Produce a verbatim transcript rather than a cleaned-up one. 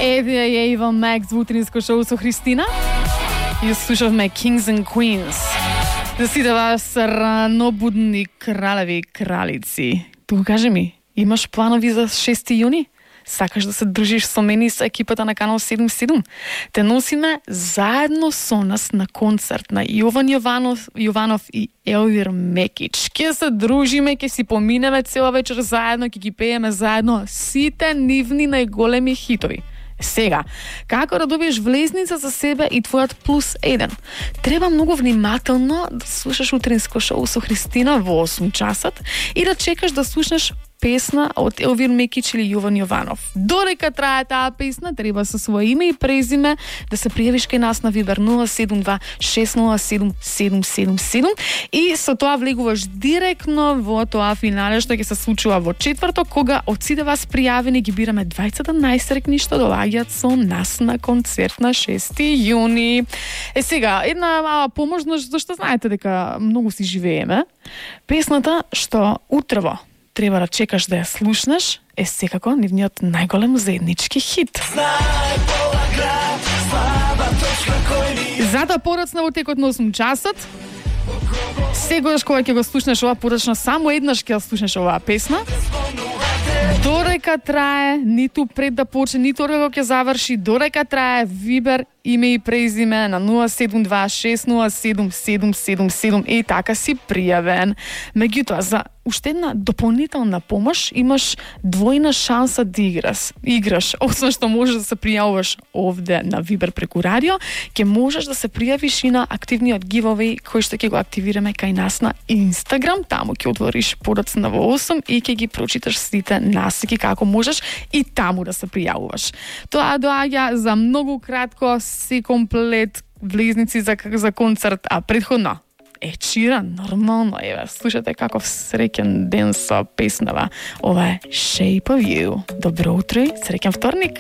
Еве е Ива Макс во утринско шоу со Христина. И слушавме Kings and Queens. За сите вас ранобудни кралеви и кралици. Тука кажи ми, имаш планови за шести јуни? Сакаш да се дружиш со мене и со екипата на Канал седум седум? Те носиме заедно со нас на концерт на Јован Јованов, Јованов и Елвир Мекич. Ке се дружиме, ке си поминеме цела вечер заедно, ке ги пееме заедно сите нивни најголеми хитови. Сега, како да добиеш влезница за себе и твојот плюс еден? Треба многу внимателно да слушаш утринско шоу со Христина во осум часот и да чекаш да слушнеш песна од Елвир Мекич или Јован Јованов. Додека трае таа песна, треба со свое име и презиме да се пријавиш кај нас на Вибер нула седум два шест нула седум седум седум седум и со тоа влегуваш директно во тоа финале што ќе се случува во четврток, кога од сите вас пријавени ги бираме дваесет најсрекни што доаѓаат со нас на концерт на шести јуни. Е сега, една мала поможност, зашто знаете дека многу си живееме. Песната што утрево треба да чекаш да ја слушнеш е секако нивниот најголем заеднички хит. Затоа подоцна во текот на осум часот, сегогаш кога ќе го слушнеш ова подоцна, само еднаш ќе ја слушнеш оваа песна. Додека трае, ниту пред да почне, ниту кога ќе заврши, додека трае, Вибер име и презиме на нула седум два шест нула седум седум седум седум и така си пријавен. Меѓутоа, за уште една дополнителна помош имаш двојна шанса да играш. Играш, освен што можеш да се пријавуваш овде на Вибер преку радио, ќе можеш да се пријавиш и на активниот giveaway кој што ќе го активираме кај нас на Инстаграм. Таму ќе отвориш подоцна во осум и ќе ги прочиташ сите насеки како можеш и таму да се пријавуваш. Тоа доаѓа за многу кратко, си комплет влезници за, за концерт, а предходно Ед Ширан, нормално, еве, слушате каков среќен ден со песнава. Ова е Shape of You. Добро утро и среќен вторник!